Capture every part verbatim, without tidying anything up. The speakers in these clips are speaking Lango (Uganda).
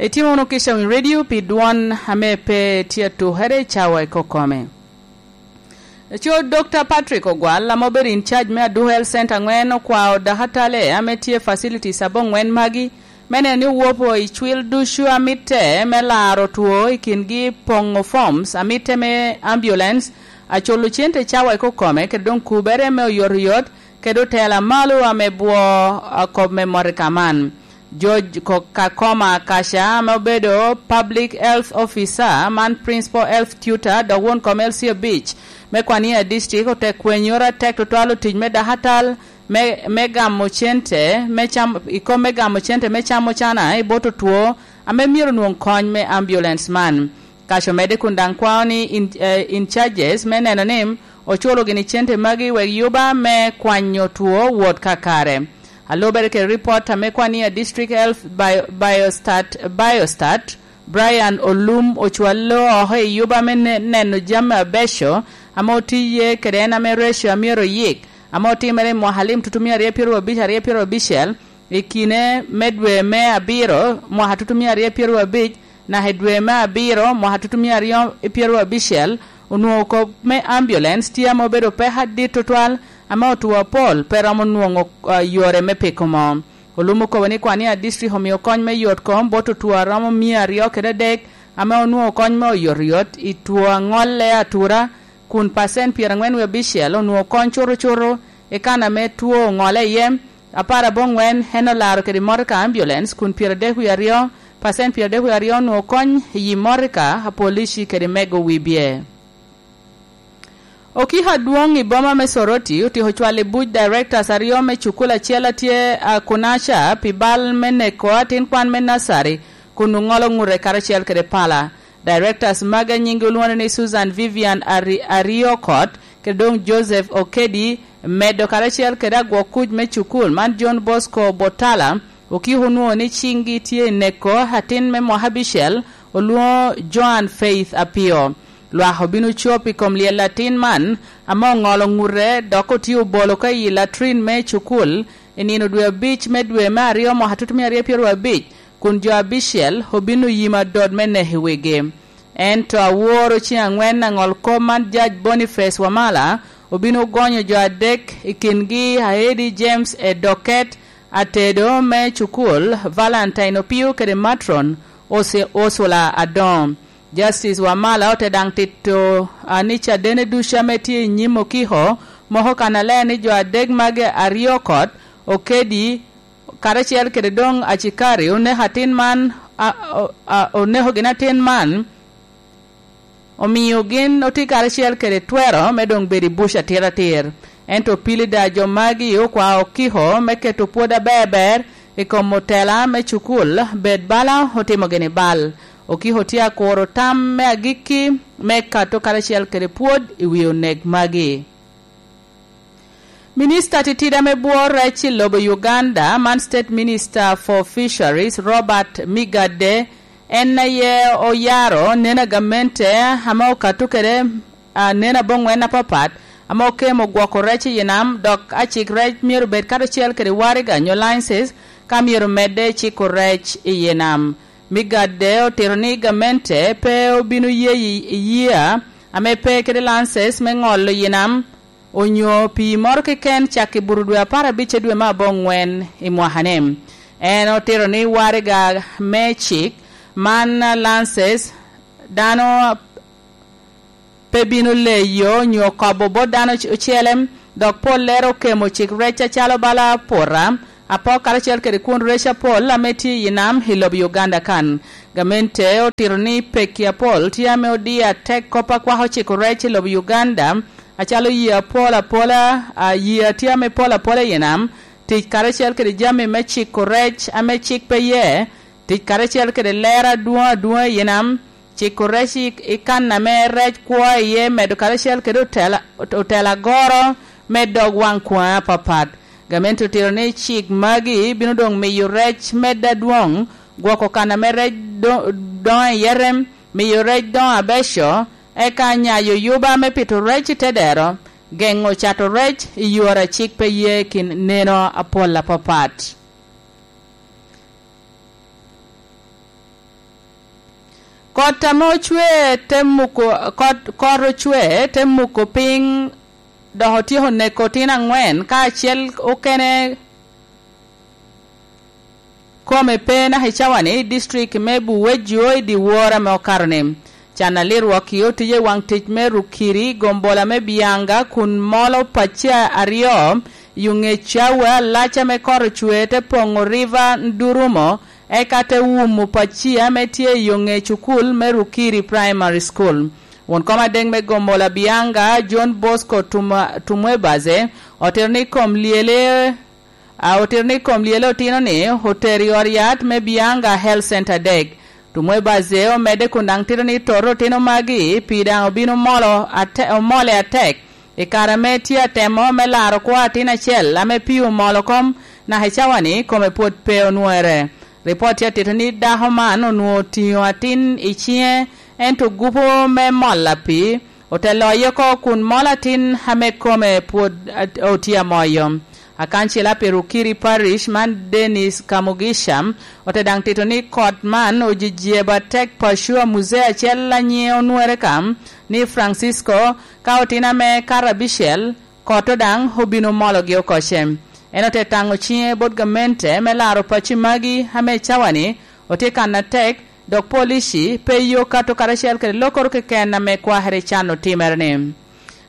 Itimo wunu kica i redio pi dwon ame pe tye atukere i cawa i kokome. Aco Dokta Patrick Ogwal, ame obedo in charge me Aduku Health Center aŋwen, okwao dakatale ame tye facilities aboŋwen magi me neno ni owopo i cwil ducu a mitte me laro two i kingi poŋo forms a mitte me ambulance, aculo cente cawa i kokome, kede doŋ kubere me oyotoyot, kede otela malo ame bwo a kop me motoka man. George Ko-, Kakoma Kaca, ame obedo Public Health Officer, man Principal Health Tutor, dok won kom L C abic me Kwania District, ote kwenyoro atek tutwal otic me dakatal me, me gamo cente me cam, i kom me gamo cente me camo cana i bot otwo ame myero onwoŋ kony me ambulance man. Kaca omedde kun daŋ kwao ni in, eh, in charges me neno ni oculo gini cente magi wek yuba me kwanyo two wot kakare. A lubere kede ripot ame Kwania District Health Bio-, Biostat, Biostat, Brian Olum ocwallo oko i yuba me ne-, neno jami abeco ame otiye kede en ame reco a myero oyik, ame otimere i mwaka alim tutumia aryo pyeraryo abic, aryo pyeraryo abicel, i kine me dwe me abiro, mwaka tutumia aryo pyeraryo abic, naka i dwe me abiro, mwaka tutumia aryo pyeraryo abicel, onwoŋo kop me ambulance tye ame obedo peko adit tutwal, ame otwo apol pe romo nwoŋo, ah, yore me piko moo. Olum okobo ni Kwania District omio kony me yot kom bot otwo a romo mia aryo kede adek, ame onwoŋo kony me oyotoyot i two a ŋolle atura, kun pacent pyeraŋwen wie abicel onwoŋo kony cutucutu i kan ame two oŋolle iye. Apar aboŋwen en olaro kede motoka ambulance, kun pyeradek wie aryo, pacent pyeradek wie aryo onwoŋo kony i yi motoka a polici kede mego wibye. Okiko adwoŋ i boma me Soroti otyeko cwalo i buc directors aryo me cukul acel a tye a Kunaca pi bal me neko atin kwan me nursery kun oŋolo ŋute karacel kede pala. Directors magi a nyinggi olwoŋo ni Susan Vivian Ari-, Ariokot, kede doŋ Joseph Okedi, medo karacel kede agwok kuc me cukul man John Bosco Botala, okiko onwoŋo ni ciŋgi tye i neko atin me mwaka abicel, olwoŋo Joan Faith Apio. Lwak obino cop i kom lyel atin man, ame oŋolo ŋute dok otye obolo ka i latrin me cukul i nino dwe abic me dwe me aryo mwaka tutumia aryo pyeraryo abic, kun jo abicel obino yimo adot me neko i wigi. Ento aworo ciŋ aŋwen aŋol kop man, Judge Boniface Wamala obino gonyo jo adek, i kingi Aedi James Edoket, atedo me cukul, Valentine Opio kede Matron Ose-, Ursula Adongo. Justice Wamala ote daŋ tito, a, ni caden ducu ame tye i nyim okiko moko kannaler ni jo adek magi aryo kot, Okedi karacel kede doŋ acikari oneko atin man, a, o-, a, oneko gin atin man, omio gin otye karacel kede twero me doŋ bedo i buc atir atir. Ento pilida jo magi okwao okiko me keto pwod aber ber i kom otela me cukul, bed bala otimo gini bal. Okiko tye akuro tam me agikki me kato karacel kede pwod i wi onek magi. Minista titida me bwo rec i lobo Uganda, man State Minister for Fisheries, Robert Migadde, en aye oyaro neno a gamente ame okato kede, a, neno aboŋwen apapat ame okemo gwoko rec i nam, dok acik rec myero bed karacel kede waraga nyo licenses ka myero medde ciko rec i nam. Migadde otito ni gamente pe obino ye i, i year ame pe kede licenses me ŋolo i nam, onyo pii moro keken cak i buto dwe apar abic dwe me aboŋwen i mwaka-ni. En otito ni waraga me cik man, licenses, dano pe bino leyo onyo kobo bot dano oc-, ocele, dok pollere okemo cik rec acalo bala pota, apok karacel kede kwon rec apol ame tye i nam i lobo Uganda kan. Gamente otito ni pekki apol tye ame odiyo atek kop a kwako ciko rec i lobo Uganda, acalo yee apol apola, a, yee a tye ame pol apola i nam, tic karacel kede jami me ciko rec ame cik pe iye, tic karacel kede lero adwoŋ adwoŋa i nam, ciko rec i, i kan ame rec kwo iye, medo karacel kede otela, otela agoro me dog waŋ kwaŋe apapat. Gamente otito ni cik magi bino doŋ miyo rec medde adwoŋ, gwoko kan ame rec do-, doŋo iye rem, miyo rec doŋo abeco, eka nyayo yuba me pito rec i te dero, geŋo cato rec i yore a cik pe ye kin neno apol apapat. Kot ame ocwe te muko, kot, kot ocwe te muko piny, dok otyeko neko otino angwen, ka acel okene kome pe naka i cawani, i district me Buwejjo i dyewor ame okato-ni. Can alirwok i otije waŋ tic me Rukiri, gombola me Bianga, kun molo pacci aryo i yo ŋec cawa alac ame kot ocwe te poŋo River Ndurumo, eka te wumo pacci ame tye i yo ŋec cukul me Rukiri Primary School. Won kom adek me gombola Bianga, John Bosco Tum-, Tumwebaze, otito ni kom lyele, a, otito ni kom lyele otino ni otero i ot yat me Bianga Health Center adek. Tumwebaze omedde kun daŋ tito ni toto otino magi pi daŋ obino molo ate-, omole atek i kare ame tye atemo me laro kwo atin acel ame pii omolo kom, naka i cawani kome pwod pe onwere. Ripot tye atito ni dako man onwoŋo otiŋo atin i ciŋe, ento gupo me mol apii ote loye oko kun mol atin ame kome pwod at-, otye amoyo. Akancila pi Rukiri Parish man Dennis Kamugisha ote daŋ tito ni kot man ojejebo atek paco a muzee acel a nyiŋe onwere kam ni Francisco, ka otino ame kato abicel, kot daŋ obino mologi oko ce. En ote taŋo ciŋe bot gamente me laro pacci magi ame cawani otye kan atek, dok polici pe yo kato karacel kede lokoro keken ame kwakere can otimere-ni.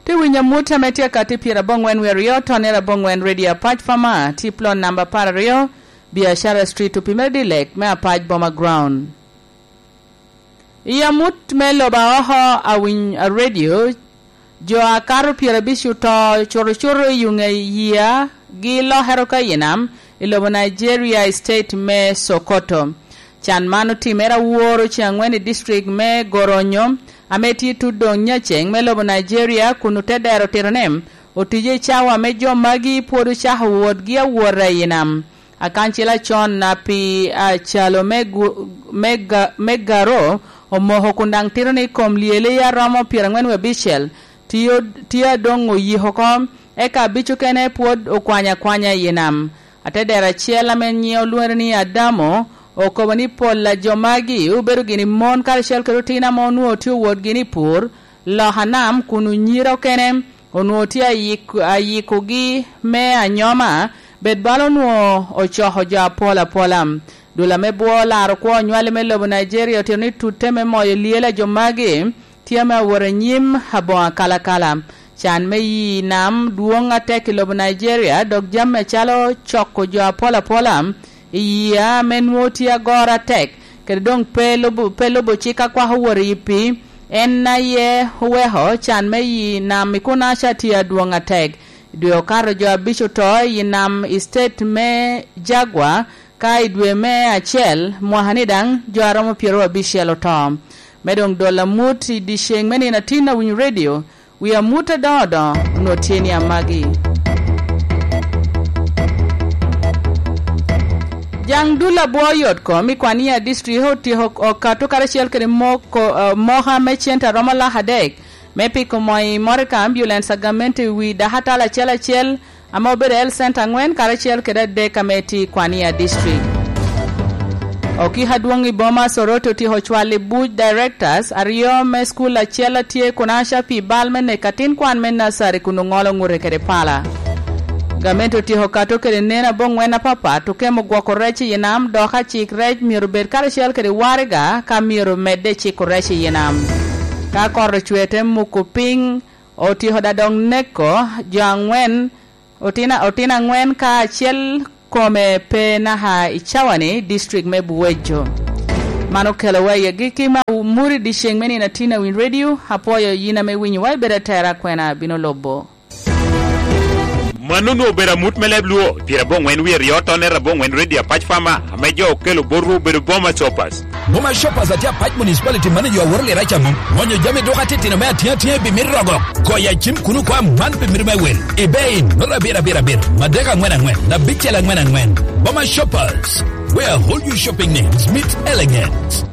Tye winyo amut ame tye akati pyeraboŋwen wie aryo, tonere aboŋwen Radio Apac Fama, tye plot namba apar aryo, Biashara Street, opimere dilek me Apac Boma Ground. I amut me lobo a oko a winy a radio, jo a kato pyerabic oto cutocuto i yuŋe yia gi lokere oko i nam i lobo Nigeria i state me Sokoto. Can man otimere aworo ceŋ aŋwen i district me Goronyo, ame tye tut doŋ nyaceŋ me lobo Nigeria, kun ote dero tito ni otije i cawa me jo magi pwod ocako wotgi awota i nam. Akancila con a pi acalo me gu-, me ga-, me Garo omoko kun daŋ tito ni kom lyele a romo pyeraŋwen wie abicel tio, tye adoŋ oyiko oko, eka abic okene pwod okwanyo akwanya i nam. Atedero acel ame nyiŋe olwoŋere ni Adamo okobo ni pol a jo magi obedo gini mon karacel kede otino ame onwoŋo tye owot gini i pur, lok a nam kun onyira okene onwoŋo tye ayik-, ayikogi me anyoma, bed bala onwoŋo ocoko jo apol apola. Dul ame bwo laro kwo onywale me lobo Nigeria otito ni tutte me moyo lyel a jo magi tye ame awot anyim aboŋo akalakala. Can me yi nam dwoŋ atek i lobo Nigeria, dok jami acalo coko jo apol apola i yia ame nwoŋo tye agoro atek, kede doŋ pe lubo, pe lubo cik a kwako wot i pii, en aye oweko can me yi nam i Kunaca tye adwoŋ atek. I dwe okato jo abic oto i nam i state me Jagwa, ka i dwe me acel mwaka-ni daŋ jo a romo pyeraryo abicel oto. Me doŋ dolo amut i dyeceŋ me nino atin awinyo redio, wi amut adoŋo doŋo onwoŋo tye ni amagi. Jaŋ dul abwo yot kom i Kwania District otyeko okato karacel kede moko, eh, moka me cente a romo lak adek me piko moo i motoka ambulance a gamente i wi dakatala acel acel ame obedo i health center aŋwen karacel kede adek ame tye i Kwania District. Okiko adwoŋ i boma Soroti otyeko cwalo i buc directors aryo me school acel a tye i Kunaca pi bal me neko atin kwan me nasari kun oŋolo ŋute kede pala. Gamente otyeko kato kede nen aboŋwen apapat, okemo gwoko rec i nam, dok acik rec myero bed karacel kede waraga ka myero medde ciko rec i nam. Ka kot ocwe te muko piny, otyeko daŋ dok neko jo aŋwen, otino, otino aŋwen ka acel kome pe naka i cawani, district me Buwejo. Man okelowa i agikki me amut i dyeceŋ me nino atin a Winy Radio. Apwoyo yin ame winyowa, ibedo atera, kwena bino lubo. Mano onwoŋo obedo amut me leb Luo, pyeraboŋwen wie aryo tonere aboŋwen Radio Apac Fama, ame jo okelo botwu obedo Boma Shoppers. Boma Shoppers atye Apac Municipality man i yo aworo lira caŋo. Ŋonyo jami duka titino me atiŋa atiŋa i bimit rogo. Goyo acim kuno kwa man pi mito me wel. Ebay, noto abiro abiro abiro, madek aŋwen aŋwen, abicel aŋwen aŋwen. Boma Shoppers, where all your shopping needs meet elegance.